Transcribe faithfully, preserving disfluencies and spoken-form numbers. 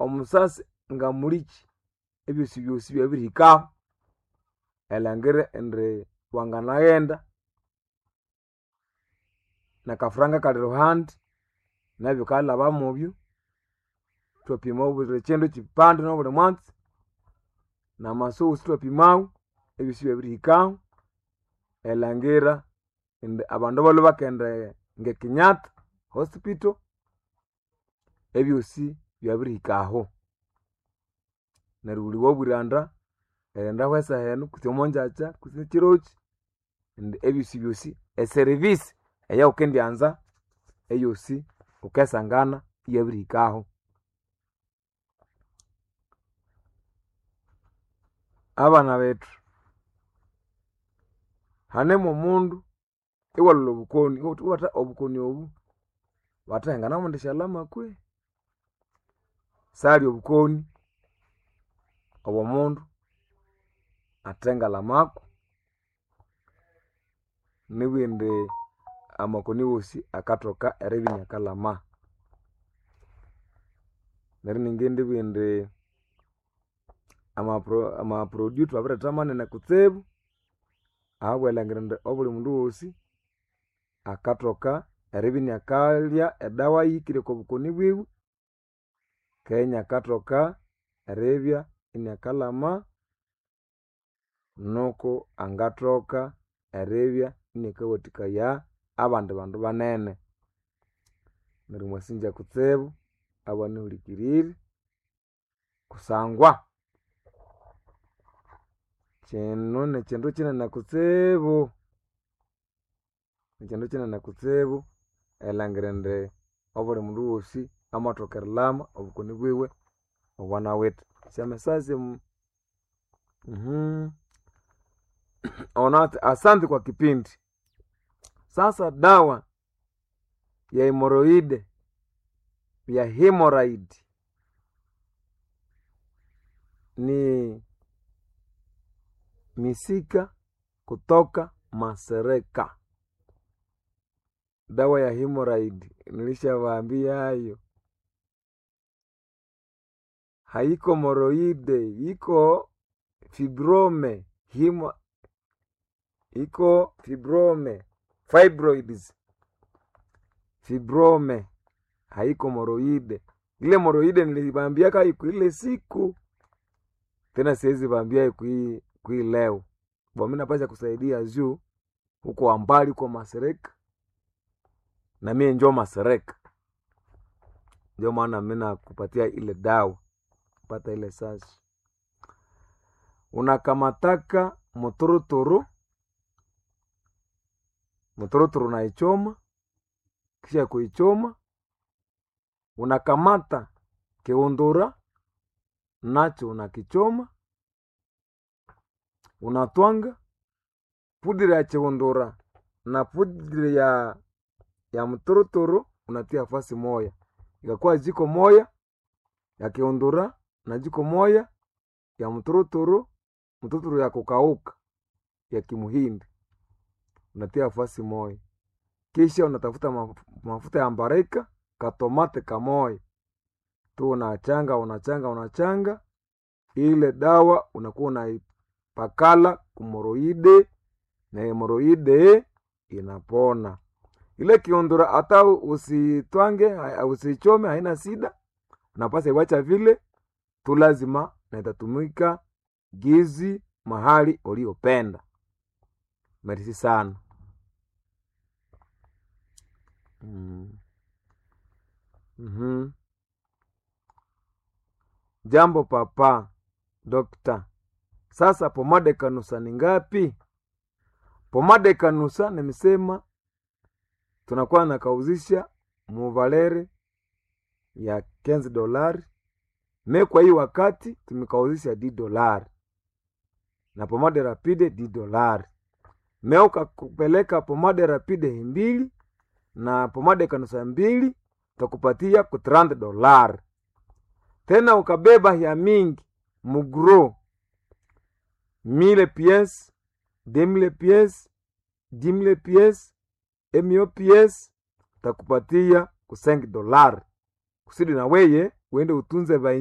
Omusasi nga mulikyi ebyosi byosi byabirihikaho erilhangira indi wanganaghenda nakafuranga kali ruhandi nabyo kalhaba mubyo ithwapima obuli kyindu kyipande nobuli mwatsi namasu wosi ithwapimawo ebyosi ibyabirihikaho erilhangira indi abandu balhwe bakaghenda nge Kenyatta hospital ebyosi byabirihika aho. Neryo wuli wabwiranda erighendaho esaha enu kutse omongyakya kutse ekyirokyi indi ebyosi byosi eservice eyawukendyanza eyosi wukasangana iyabirihikaho. Abana bethu hanemo omundu iwalhwalha obukoni iwabugha wuthi obukoni obu bathahengana mbu endishalama kwehi? Sali obukoni obwomundu athengalamako nibugha indi amakoni wosi akathoka eribya inyakalhama. Neryo iningindibugha indi ama pro ama produit thwabiretha manene kutsibu ahabw'erilhangira indi obuli mundu wosi akathoka eribya iniakalya edawa yihikire oko bukoni bwiwe keghe iniakathoka eribya iniakalhama nuku angathoka eribya iniakawathikaya abandi bandu banene. Neryo mwasingya kutsibu abanyihulikirire kusangwa kyino nikyindu kyinene kutsibu, nikyindu kyinene kutsibu erilhangira indi obuli mundu wosi amathoka erilhama obukoni bwiwe obwanawithe. Syamessage ono athi asante kwa kipindi. Sasa dawa ya hemoroide ya hemorrhoid ni misika kutoka Masereka. Dawa ya hemorrhoid nilishawaambiayo haiko moroide iko fibrome himo, iko fibrome fibroids fibrome haiko moroide. Ile moroide nilibambiaka iko ile siku tena siwezi bambia kui kui leo bo mimi napasha kusaidia juu huko ambali kwa Masereka na mie njo Masereka, ndio maana mimi nakupatia ile dawa pata ile sasa unakamataka muturuturu muturuturu naichoma kisha kuichoma unakamata kiundura nacho unakichoma unatwanga pudiri ya chiundura na pudiri ya ya mturuturu unatia fasi moya ikakuwa jiko moya ya kiundura na jiko moya ya mturuturu mturuturu ya kukauka ya kimuhindi unatia fasi moya kisha unatafuta mafuta ya mbarika katomate kamoya tu unachanga unachanga unachanga ile dawa unakuwa unaipakala kumoroide na hemoroide inapona. Ile kiundura hata usitwange usichome, haina sida, unapasa iwacha vile tu, lazima na itatumika gizi mahali uliopenda. Merisi sana. Mm. Mm-hmm. Jambo papa dokta, sasa pomade kanusa ni ngapi? Pomade kanusa nimesema tunakuwa nakauzisha muvaleri ya kenzi dolari me kwa hii wakati tumekauzisha di dolari na pomade rapide di dolari me ukakupeleka pomade rapide mbili na pomade kanusa mbili takupatia ku trente dolari tena ukabeba ya mingi mugro mille pièces deux mille pièces dix mille pièces emio pièces takupatia ku cinq dolari kusudi na weye uende utunze